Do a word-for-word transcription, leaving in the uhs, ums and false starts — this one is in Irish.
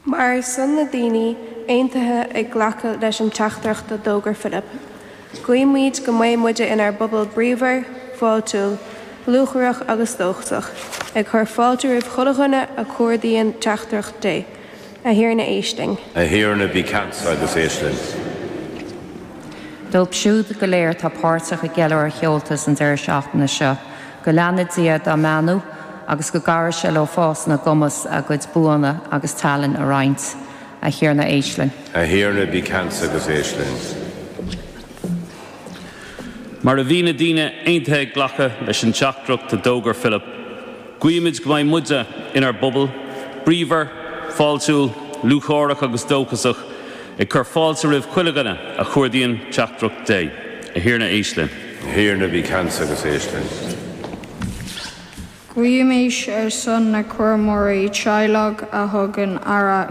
Mar son na daoine aontaithe ag glacadh leis an teachtaireacht a d'fhógair Philip. Guímid go mbeidh muide inár bpobal bríomhar, fáiltiúil, lúcháireach agus dóchasach, ag cur fáilte roimh chuile dhuine a chuardaíonn teachtaireacht Dé, a Thiarna éist linn. A Thiarna bí ceansa agus éist linn. Dóibh siúd go léir atá páirteach i gceiliúradh Sheoltas an deireadh seachtaine seo, go leana Dia dá mbeannú agus go gcabhraí sé leo fás ina gcumas a gcuid buanna agus tallann a roinnt a Thiarna éist linn. A Thiarna bí ceansa agus éist linn. Mar a bhí na daoine aontaithe ag glacadh leis an teachtaireacht a d'fhógair Philip, guímid go mbeidh muide inár bpobal, bríomhar, fáiltiúil, lúcháireach agus dóchasach, ag cur fáilte roimh chuile dhuine a chuardaíonn teachtaireacht Dé, a Thiarna éist linn. A Thiarna bí ceansa agus éist linn. Guímis ar son na cúramóirí teaghlaigh a thugann aire